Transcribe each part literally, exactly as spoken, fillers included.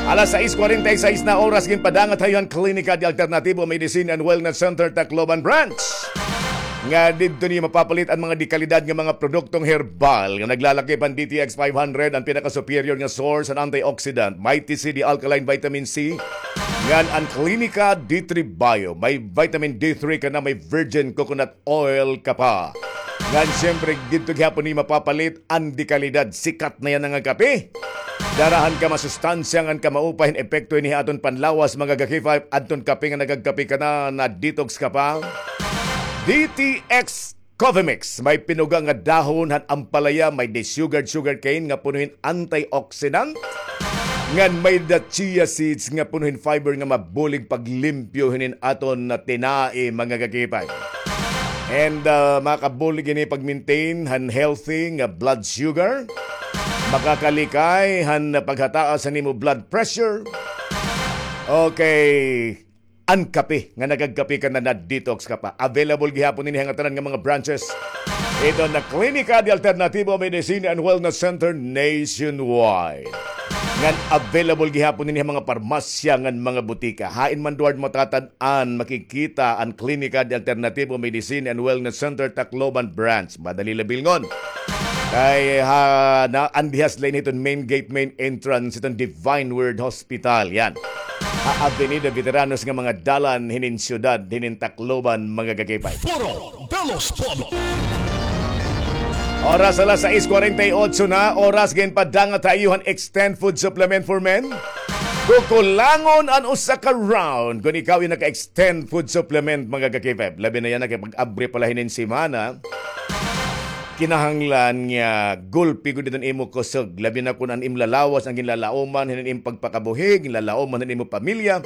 Alas sais kwarenta y sais na oras, ginpadangat ha iyo an Klinika de Alternativo Medicine and Wellness Center, Tacloban Branch. Nga didto niyo mapapalit an mga dekalidad nga mga produktong herbal nga naglalakip han D T X five hundred, an pinaka-superior nga source han antioxidant, Mighty C D Alkaline Vitamin C, ngan an Klinika D three Bio, may vitamin D three ka na, may virgin coconut oil ka pa. Ngan siyempre, didto gihapon niyo mapapalit an dekalidad. Sikat na yana nga kape. Dara han kamasustansya ngan kamaupay hin epekto ini ha aton panlawas, mga ka-K five, adton kape nga nagagkape ka na, na-detox ka pa. D T X Coffee Mix, may pinuga nga dahon han ampalaya, may desugared sugarcane nga puno hin antioxidant, ngan may-ada chia seeds nga puno hin fiber nga mabulig paglimpyo hinin aton nga tinai, mga ka-K five. And, ah, makabulig ini pag-maintain han healthy nga blood sugar, makakalikay han paghataas han imo blood pressure. Okay. An kape nga nagagkape ka na, na-detox ka pa. Available gihapon ini ha ngatanan nga mga branches hiton Klinika de Alternativo Medicine and Wellness Center nationwide. Ngan available gihapon ini ha mga parmasya ngan mga butika. Hain man duward matatan-an, makikita an Klinika de Alternativo Medicine and Wellness Center, Tacloban Branch. Madali la bilngon. Kay ha, na, andihas la ini hiton main gate, main entrance hiton Divine Word Hospital. Yan. Ha Avenida Veteranos nga mga dalan hinin syudad, hinin Tacloban, mga ka-K five. Foro de los Pueblos. Oras alas sais kwarenta y otso na, oras ginpadangat ha iyo han Extend Food Supplement for Men. Kukulangon an usa ka round kon ikaw iya naka-Extend Food Supplement, mga ka-K five. Labi na yana kay pag-abri pa la hinin semana. Kinahanglan nga gulpi gud iton imo kusog, labi na kon an im lalawas an ginlalauman hinin im pagpakabuhi, ginlalauman hinin imo pamilya.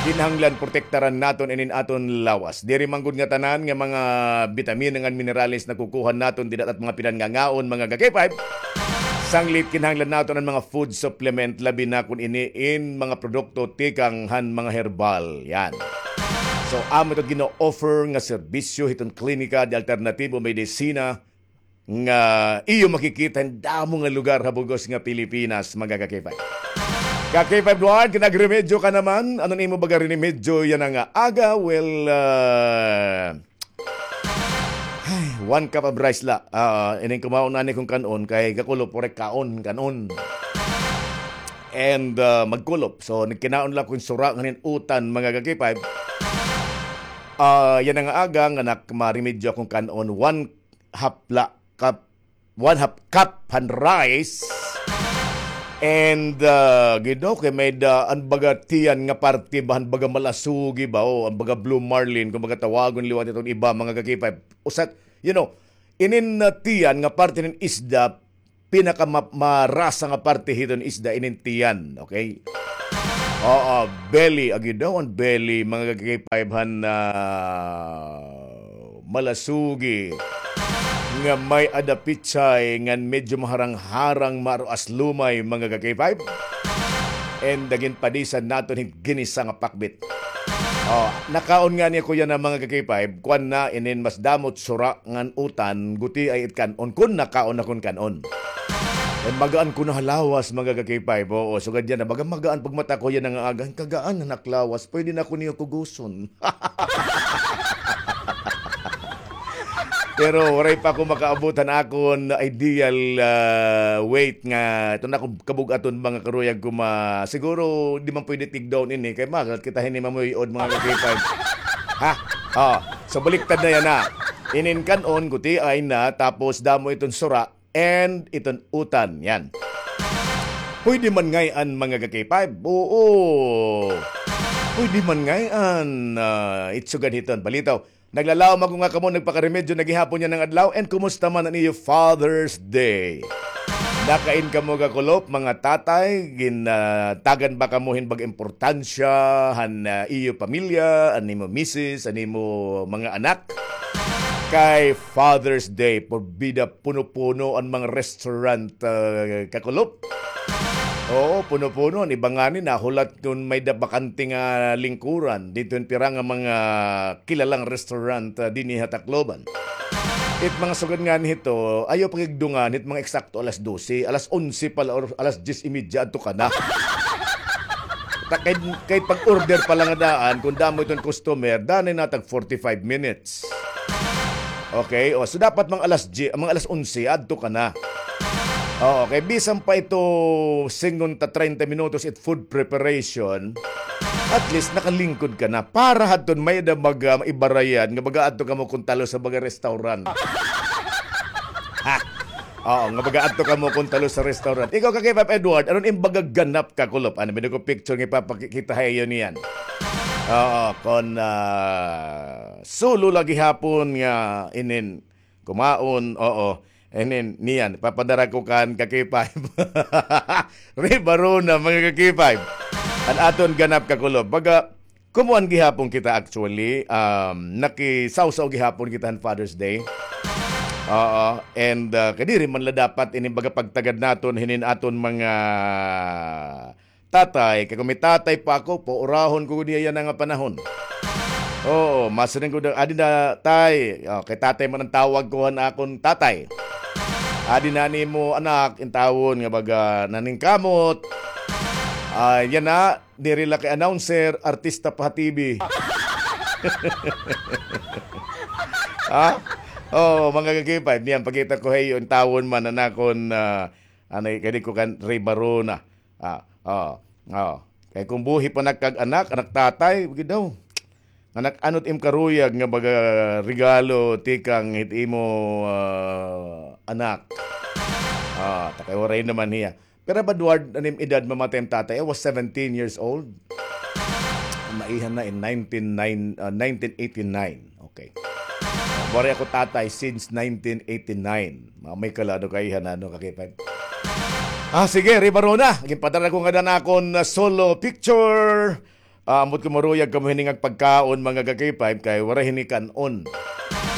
Kinahanglan protektaran naton inin aton lawas. Diri man gud ngatanan nga mga bitamina ngan minerales nakukuha naton dida ha aton mga pinanngangaon, mga ka-K five. Sanglit kinahanglan naton an mga food supplement, labi na kon ini in mga produkto tikang han mga herbal. Yan. So, amo ito gina-offer nga serbisyo hiton Klinika de Alternativo Medicina nga iyo makikita hin damo nga lugar ha bug-os nga Pilipinas, mga ka-K five. Ka-K five Duarte, nagremedyo ka naman. Ano an imo baga rinimedyo yana nga aga? Well, ah, ay, one cup of rice la. Ah, ining kumaon ani kong kan-on, kay gakulop, waray kaon, kan-on. And, ah, magkulop. So, nagkinaon la kong sura ngan hin utan, mga ka-K five. Ah, yana nga aga nga nak-, maremedyo akon kan-on, one half la, cup, one half cup han rice. And, ah, gid, okay, may-ada an baga tiyan nga parte ba, han baga malasugi ba, o an baga blue marlin, kon baga tawagon liwat iton iba, mga ka-K five. Usa, you know, inin, ah, tiyan nga parte hin isda, pinaka ma-, marasa nga parte hiton isda inin tiyan, okay? Oo, belly, agi daw an belly, mga ka-K five, han, ah, malasugi nga may-ada pitsay ngan medyo maharang-harang, maaruas lumay, mga ka-K five. And ginpadisan naton hin ginisa nga pakbit. Oh, nakaon ngani ako yana, mga ka-K five, kuan na, inin mas damo it sura ngan utan, gutiay it kan-on, kon nakaon akon kan-on. Kay magaan kuno ha lawas, mga ka-K five, oo, sugad yana, baga magaan pagmata ko yana nga aga, kagaan na ak lawas, pwede na ako niyo kuguson. Pero waray pa ako makaabot han akon ideal, ah, weight nga iton akon kabug-aton, mga karuyag ko, ma-, siguro di man pwede tig down ini kay magat kita hini mamuy-od, mga ka-K five. Ha? Oh, so baliktad na yana. Inin kan-on, gutiay na, tapos damo iton sura, and iton utan. Yan. Pwede man ngay-an, mga ka-K five. Oo. Pwede man ngay-an. Ah, it sugad hiton. Balitaw, naglalaom ako nga kamo nagpakaremedyo na gihapon yana nga adlaw. And kumusta man an iyo Father's Day? Nakain kamo gakulop, mga tatay? Gintagan ba kamo hin bag-o importansya han, ah, iyo pamilya, an imo misis, an imo mga anak? Kay Father's Day, porbida puno-puno an mga restaurant, ah, kakulop. Oo, puno-puno. An iba ngani nahulat kon may-ada bakante nga lingkuran didto hin pira nga mga kilalang restaurant, ah, dinhi ha Tacloban. It mga sugad nga nito, ayaw pagigdungan, it mga eksakto alas dose, alas onse pa la or alas diyes y media adto ka na. Ta-, kay, kay pag-order pa la nga daan, kun damo iton customer, danay na tag forty-five minutes. Okay? O, so dapat mga alas diyes, mga alas onse, adto ka na. Oo, kay bisan pa ito singon ta treinta minutos it food preparation, at least nakalingkod ka na. Para hadton may-ada mag-, ah, ibarayan nga baga adto kamo kon talos ha baga restaurant. Ha? Oo, nga baga adto kamo kon talos ha restaurant. Ikaw, Ka-K five Edward, ano in baga ganap ka kulop? Ano, may ko picture nga ipapakita ha iyo niyan. Oo, kon, ah, solo la gihapon nga inin kumaon, oo. And then, niyan, papadara ko kan Ka-K five. Ribarona, mga Ka-K five. An aton ganap kakulop. Baga, kumuan gihapon kita actually. Um, nakisawsaw gihapon kita han Father's Day. Oo. And, uh, kadiri man la dapat ini baga pagtagad naton hinin aton mga tatay, kay kon may tatay pa ako, paurahon ko gud hiya yana nga panahon. Oo, masiring ko daw, "Adi na, tay." O, kay tatay man an tawag ko han akon tatay. "Adi na an imo anak," intawon nga baga naningkamot. Ah, yana, diri la kay announcer, artista pa ha T V. Ha? Oo, mga Ka-K five, niyan, pakita ko ha iyo, intawon man an akon, ah, anay, kadi ko kan Ribarona. Ah, oo, oo. Kay kon buhi pa nakag-anak, anak tatay, gid daw. Anak, ano't im karuyag nga baga regalo tikang hit imo, ah, anak? Ah, ta kay waray naman hiya. Pero ba, Edward, an im edad mamatay im tatay? I was seventeen years old. Maiha na in nineteen nine, ah, nineteen eighty-nine. Okay. Waray ako tatay since nineteen eighty-nine. Mamay ka la, ano, kaiha na, ano, Ka-K five. Ah, sige, Ribarona. Ginpadara ko ngada an akon, ah, solo picture. Ah, ambot ko maruyag kamo hini nga pagkaon, mga Ka-K five, kay waray hini kan-on.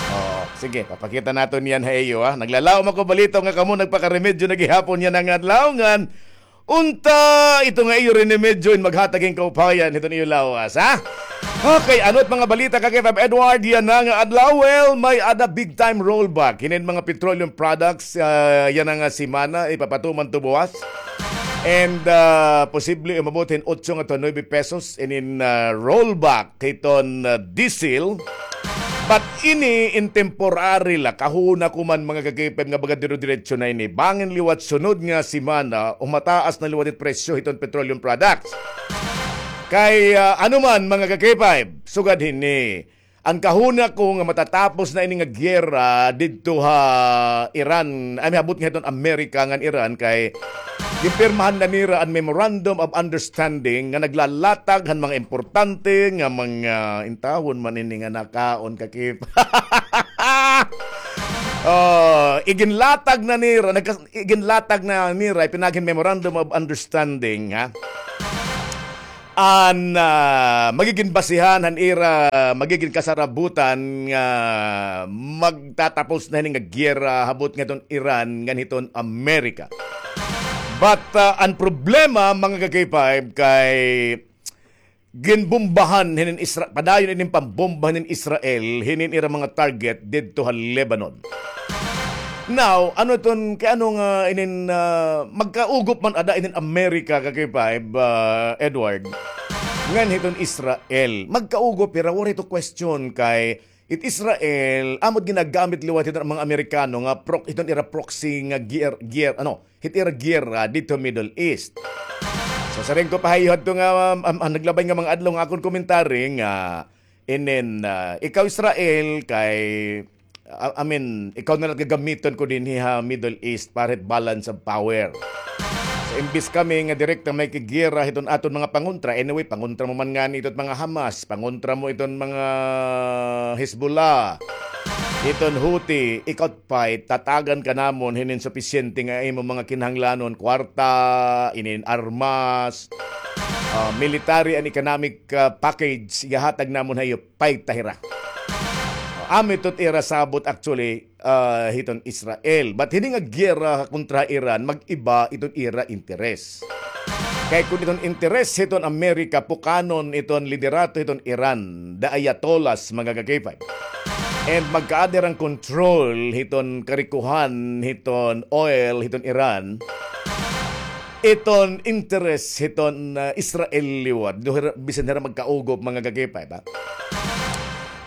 Oh, sige, papakita naton yan ha iyo, ha. Naglalaom ako balita nga kamo nagpakaremedyo na gihapon yana nga adlaw ngan Unta, ito nga iyo rinimedyo in maghatag hin kaupayan hiton iyo lawas, ha? Okay, ano't mga balita, Ka-K five Edward, yana nga adlaw? Well, may-ada big time rollback hinin mga petroleum products, ah, yana nga semana, ipapatuman to buwas. And, ah, posible umabot hin otso ngadto ha nuebe pesos inin, ah, rollback hiton, ah, diesel. But ini in temporary la, kahuna ko man, mga Ka-K five, nga baga dire-diretso na ini. Bangin liwat sunod nga semana, humataas na liwat it presyo hiton petroleum products. Kay, ah, ano man, mga Ka-K five, sugad hini, an kahuna ko nga matatapos na ini nga giyera didto ha Iran, ay, mihabot nga hiton Amerika ngan Iran, kay ginpirmahan na nira an Memorandum of Understanding nga naglalatag han mga importante nga mga, intawon man ini nga nakaon, Ka-K five. Oh, iginlatag na nira, nagkas-, iginlatag na nira, ipinag-, hin Memorandum of Understanding, ha? An, ah, magigin basihan han ira, magigin kasarabutan nga magtatapos na hini nga giyera habot ngadton Iran ngan hiton Amerika. But, ah, an problema, mga Ka-K five, kay ginbombahan hinin Isra-, padayon inin pambomba hinin Israel hinin ira mga target didto ha Lebanon. Now, ano iton, kay ano nga inin, ah, magkaugop man ada inin Amerika, Ka-K five, ah, Edward, ngan hiton Israel? Magkaugop hira, waray to question kay it Israel, amo it ginagamit liwat hiton mga Amerikano nga pro-, hiton ira proxy nga gier-, gier-, ano, hit ira giyera didto Middle East. So, siring ko pa ha iyo hadto nga, um, um, ah, naglabay nga mga adlaw nga akon commentary nga, inin, ah, ikaw Israel kay, ah, I mean, ikaw na la it gagamiton ko dinhi ha Middle East para hit balance of power. So, imbis kami nga direkta makigiyera hiton aton mga pangontra, anyway, pangontra mo man ngani iton mga Hamas, pangontra mo iton mga Hezbollah, iton Houthi, ikaw pay tatagan ka namon hinin supisyente nga imo mga kinahanglanon, kwarta, inin armas, ah, military and economic, ah, package, ihahatag namon ha iyo, pay ta hira. Amo ito it ira sabot actually, ah, hiton Israel. But hini nga giyera kontra Iran, mag-iba iton ira interes. Kay kon iton interes hiton Amerika, pukanon iton liderato hiton Iran, the Ayatollahs, mga Ka-K five. And magkaada hira hin control hiton karikohan hiton oil hiton Iran. Iton interest hiton, ah, Israel liwat. Do hira, bisan hira magkaugop, mga ka-K five, ha?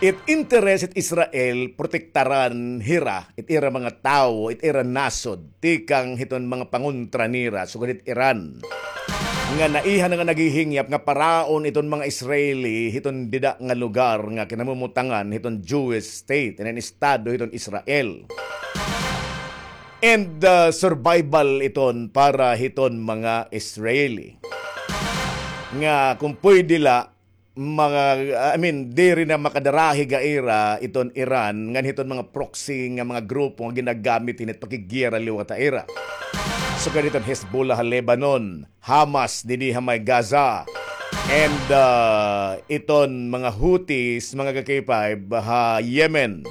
It interest hit Israel, protektaran hira, it ira mga tawo, it ira nasod, tikang hiton mga pangontra nira, sugad hit Iran. Nga naiha na nga naghihingyap nga paraon iton mga Israeli, hiton dida nga lugar nga kinamumutangan hiton Jewish state, inin estado hiton Israel. And, uh, survival iton para hiton mga Israeli. Nga kung pwede la, mga, I mean, diri na makadarahig ha ira iton Iran, ngan hiton mga proxy nga mga grupo nga ginagamit hini hit pakiggiyera liwat ha ira. Sugad hiton Hezbollah ha Lebanon, Hamas dinhi ha may Gaza, and, ah, iton mga Houthis, mga ka-K five, ha Yemen.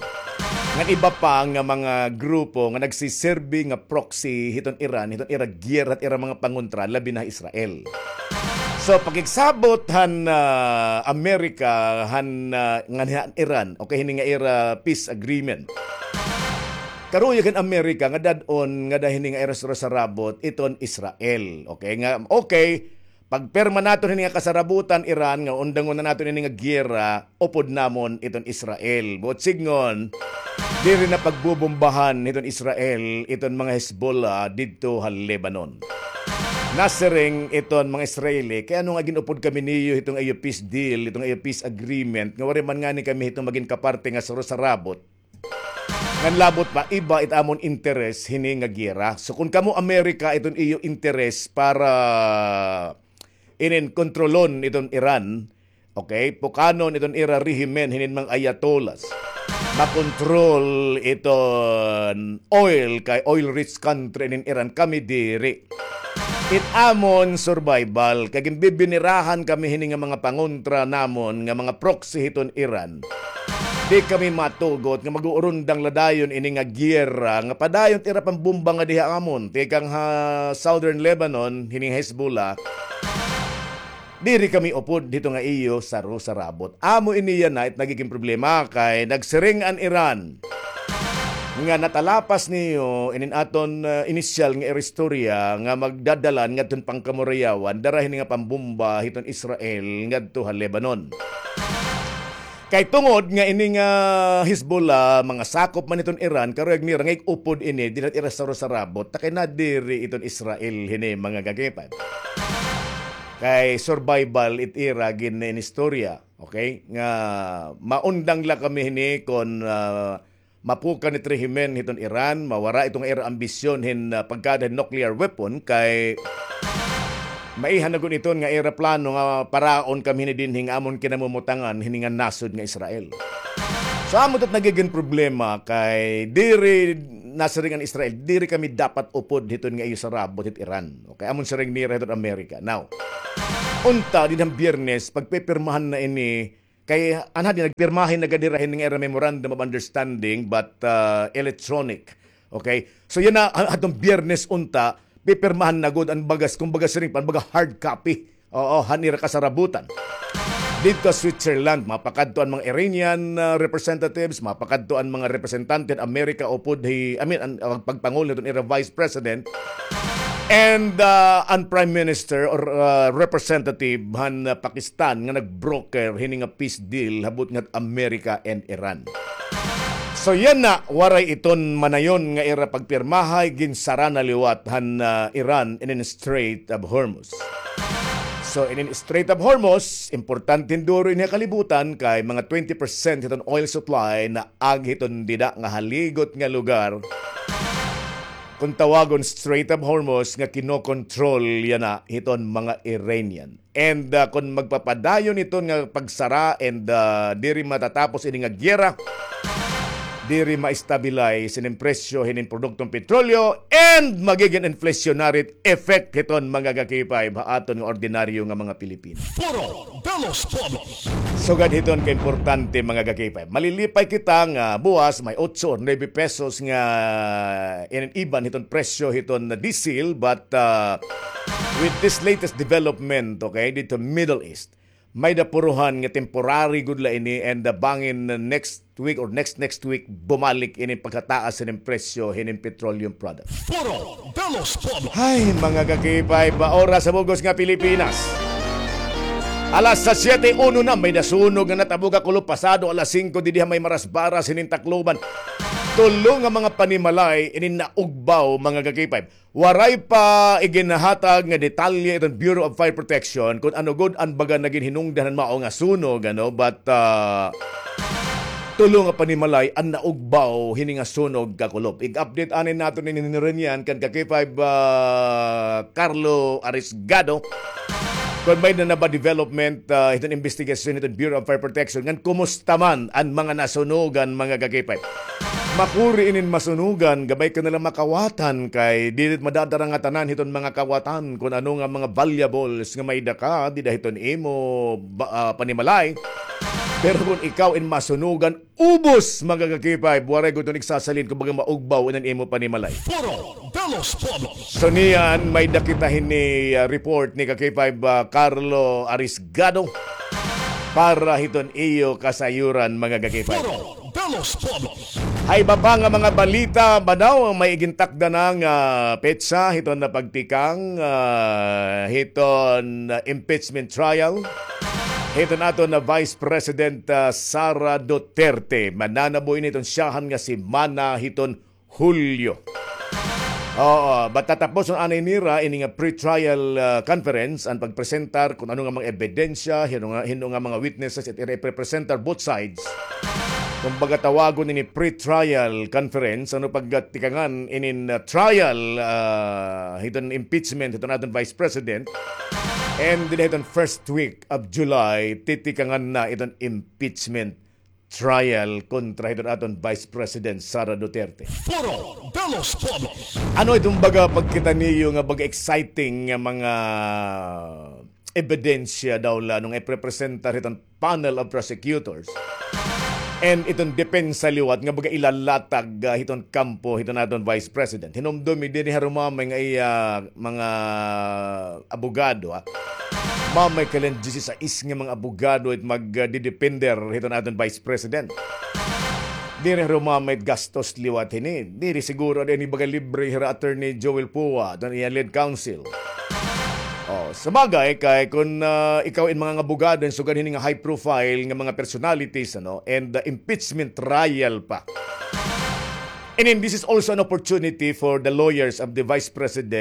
Ngan iba pa nga mga grupo nga nagsiserbi nga proxy hiton Iran, hiton ira giyera, hit ira mga pangontra, labi na ha Israel. So, pakigsabot han, ah, Amerika, han, ah, ngan han Iran, okay, hini nga ira peace agreement. Karuyag han Amerika nga dad-on ngada hini nga ira sarusarabot iton Israel. Okay, nga, okay, pagpirma naton hini nga kasarabutan, Iran, nga undangon na naton ini nga giyera, upod namon iton Israel. Buot sidngon, diri na pagbubombahan hiton Israel iton mga Hezbollah didto ha Lebanon. Nasiring iton mga Israeli, kay ano nga gin-upod kami niyo hiton iyo peace deal, hiton iyo peace agreement, nga waray man ngani kami hiton magin kaparte nga sarusarabot. Ngan labot pa, iba it amon interes hini nga giyera. So, kun kamo Amerika, iton iyo interes para inin kontrolon iton Iran, okay, pukanon iton ira rehimen hinin mga ayatollahs, makontrol iton oil, kay oil-rich country inin Iran, kami diri. It amon survival, kay ginbibinirahan kami hini nga mga pangontra namon nga mga proxy hiton Iran. Di kami matugot nga mag-uurundang la dayon ini nga giyera nga padayon it ira pambomba nga diha amon, tikang ha Southern Lebanon, hini nga Hezbollah. Diri kami upod hito nga iyo sarusarabot. Amo ini yana it nagigin problema, kay nagsiring an Iran nga natalapas niyo inin aton, ah, inisyal nga ira istorya nga magdadalan ngadton pangkamurayawan, dara hini nga pambomba hiton Israel ngadto ha Lebanon. Kay tungod nga ini nga Hezbollah, mga sakop man hiton Iran, karuyag nira nga ig-upod ini, diri na it ira sarusarabot, ta kay nadiri iton Israel hini, mga ka-K five. Kay survival it ira gin-inistorya, okay? Nga maundang la kami hini kon, ah, mapukan it rehimen hiton Iran, mawara iton nga ira ambisyon hin, ah, pagkada hin nuclear weapon, kay maiha na gud iton nga ira plano nga paraon kami hini dinhi nga amon kinamumutangan hini nga nasod nga Israel. So, amo ito it nagigin problema, kay diri nasiring an Israel, diri kami dapat upod hiton nga iyo sarabot hit Iran. Okay, amon siring nira hiton Amerika. Now, unta, dinhi han Biyernes, pagpipirmahan na ini, kay anha di nagpirmahi na gad hira hini nga ira memorandum of understanding, but, ah, electronic. Okay? So, yana, ha-, hadton Biyernes unta, pipirmahan na gud an bagas, kumbaga siring pa, an baga hard copy. Oo, han ira kasarabutan. Didto ha Switzerland, mapakadto an mga Iranian, ah, representatives, mapakadto an mga representante han Amerika upod hi, I mean, an, an pagpangulo hiton ira vice president, and, ah, an prime minister or, ah, representative han, ah, Pakistan nga nag-broker hini nga peace deal ha butnga hit Amerika and Iran. So yana, waray iton manayon nga ira pagpirmahay, ginsara na liwat han, ah, Iran inin Strait of Hormuz. So inin Strait of Hormuz, importante hin duro ini ha kalibutan, kay mga twenty percent hiton oil supply na ag hiton dida nga haligot nga lugar, kon tawagon Strait of Hormuz, nga kinokontrol yana hiton mga Iranian. And, ah, kon magpapadayon iton nga pagsara and, ah, diri matatapos ini nga giyera, diri ma-stabilize inin presyo hinin produktong petrolyo, and magigin inflationary effect hiton, mga ka-K five, ha aton nga ordinaryo nga mga Pilipino. Puro Belos Bobos. Sugad hiton kaimportante, mga ka-K five. Malilipay kita nga buwas may otso or nuebe pesos nga inin iban hiton presyo hiton diesel, but, ah, with this latest development, okay, didto Middle East, May-ada puruhan nga temporary gud la ini, and, uh, bangin, uh, next week or next next week, bumalik ini pagkataas hinin presyo hinin petroleum product. Foro de los Pueblos. Ay, mga ka-K five, oras sa bug-os nga Pilipinas. Alas siyete uno na, may nasunog nga natabo ha Kulop pasado alas singko didi ha may Marasbaras hinin Tacloban. Tulo nga mga panimalay ini naugbaw, mga ka-K five. Waray pa iginhatag nga detalye iton Bureau of Fire Protection kon ano gud an baga nga ginhinungdan han mao nga sunog, ano, but, ah, tulo nga panimalay an naugbaw hini nga sunog ha Kulop. Ig-update anay naton ini ni Renian kan ka-K five, ah, Carlo Arisgado. Kon may-ada na ba development, ah, hiton investigasyon hiton Bureau of Fire Protection ngan kumusta man an mga nasunugan, mga ka-K five? Makuri inin masunugan, gamay ka na la makawatan kay diri madadara ngatanan hiton mga kawatan kon ano nga mga valuables nga may-ada ka dida hiton imo ba-, ah, panimalay. Pero kon ikaw in masunugan, ubos, mga ka-K five, waray gud iton igsasalin kon baga maugbaw iton imo panimalay. Foro de los Pueblos. So niyan, may-ada kita hini, ah, report ni ka-K five, ah, Carlo Arisgado para hiton iyo kasayuran, mga ka-K five. Foro de los Pueblos. Ha iba pa nga mga balita, manaw may igintakda na nga petsa hiton na pagtikang, ah, hiton, ah, impeachment trial hiton aton na Vice President, ah, Sara Duterte. Mananabo ini hiton syahan nga semana hiton Hulyo. Oo, but tatapuson anay nira ini nga pre-trial, ah, conference, an pagpresentar kon ano nga mga ebidensya, hin-o nga, hin-o nga mga witnesses it ira iprepresentar, both sides. Kumbaga, tawagon ini pre-trial conference, ano, pagtikangan inin, ah, trial, ah, hiton impeachment hiton aton Vice President. And dida hiton first week of July, titikangan na iton impeachment trial kontra hiton aton Vice President Sara Duterte. Foro de los Pueblos. Ano iton baga pagkita niyo nga baga exciting nga mga ebidensya daw la nung iprepresentar hiton panel of prosecutors and iton depensa liwat nga baga ilalatag, ah, hiton kampo hiton aton Vice President? Hinumdumi, diri harumamay nga iya mga abogado, ha? Mamay ka la hin disisais nga mga abogado it mag, ah, didepender hiton aton Vice President. Diri harumamay it gastos liwat hini. Diri siguro dinhi baga libre hira Attorney Joel Poa, iton iya lead counsel. Oh, sabagay, kay kon, ah, ikaw in mga abogado, in sugad hini nga high profile nga mga personalities, ano, and, ah, impeachment trial pa. And then, this is also an opportunity for the lawyers of the Vice President